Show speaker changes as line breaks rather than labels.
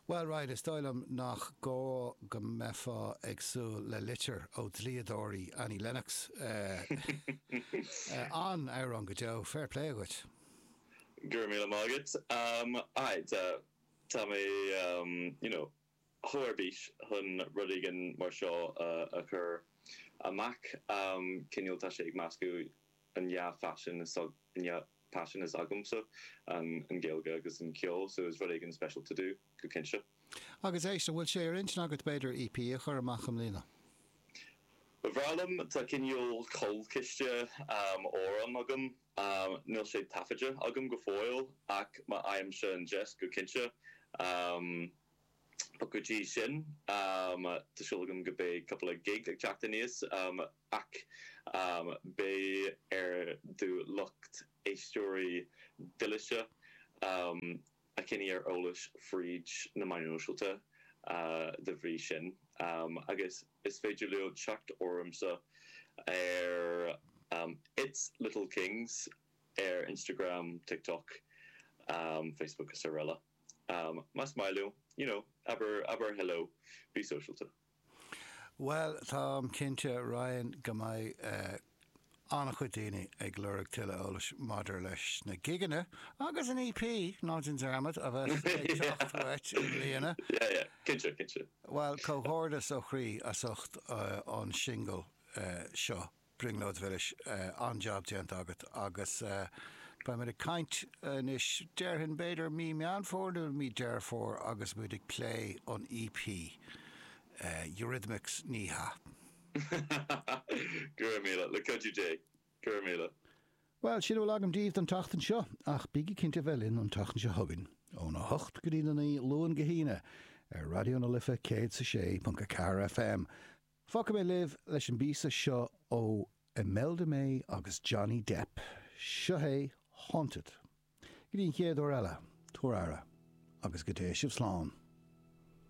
Bhuel, Ryan, is dóigh liom nach gá go mbeifeá ag súil le litir ó dhlíodóirí Annie Lennox. An-amhrán go deo, fair play dhuit.
Go raibh míle maith agat. Aye, tá mé, you know, chomh ar bís chun rud éigin mar seo a chur amach. Cineál, tá sé ag meascadh an dhá phaisean is paisean is agamsa, an Ghaeilge agus an ceol, so is rud éigin speisialta domh, go cinnte.
Agus éist, an bhfuil sé ar intinn agat b'fhéidir EP a chur amach i mbliana?
Ba bhreá liom, tá cineál cúlchiste amhrán agam, níl sé taifeadta agam go fóill ach má fhaighimse an deis, go cinnte. But go dtí sin, tá súil agam go beidh cúpla gig ag teacht aníos ach beidh ar do lucht éisteoirí dílse a choinneáil ar eolas fríd na meáin shóisialta de bhrí sin agus is féidir leo teacht ormsa ar It's Little Kings ar Instagram, TikTok, Facebook is araile. Más maith leo, you know, abair, abair hello, bí sóisialta.
Bhuel, táim cinnte, Ryan, go mbeidh an-chuid daoine ag lorg tuilleadh eolais maidir leis na gigeanna agus an EP, ná déan dearmad, a bheas ag teacht uait i mbliana.
Yeah, yeah, cinnte, cinnte.
Bhuel, comhghairdeas ó chroí as ucht an singil seo. Brionglóid Mhilis, an-jab déanta agat agus beimid ag caint anois, déarfainn b'fhéidir mí Meán Fómhair nó mí Deireadh Fómhair agus muid ag plé an EP, Eurythmics ní hea.
Go raibh míle, le cuidiú Dé. Go raibh míle.
Bhuel, sin a bhfuil agam daoibh don tseachtain seo, ach bígí cinnte a bheith linn an tseachtain seo chugainn, óna 8 go dtí na 9, Luan go hAoine, ar Raidió na Life 106.4 FM. Fágfaidh mé libh leis an bpíosa seo ó Imelda May agus Johnny Depp. Seo é Haunted. Go dtí an chéad uair eile, tabhair aire, agus go dté sibh slán.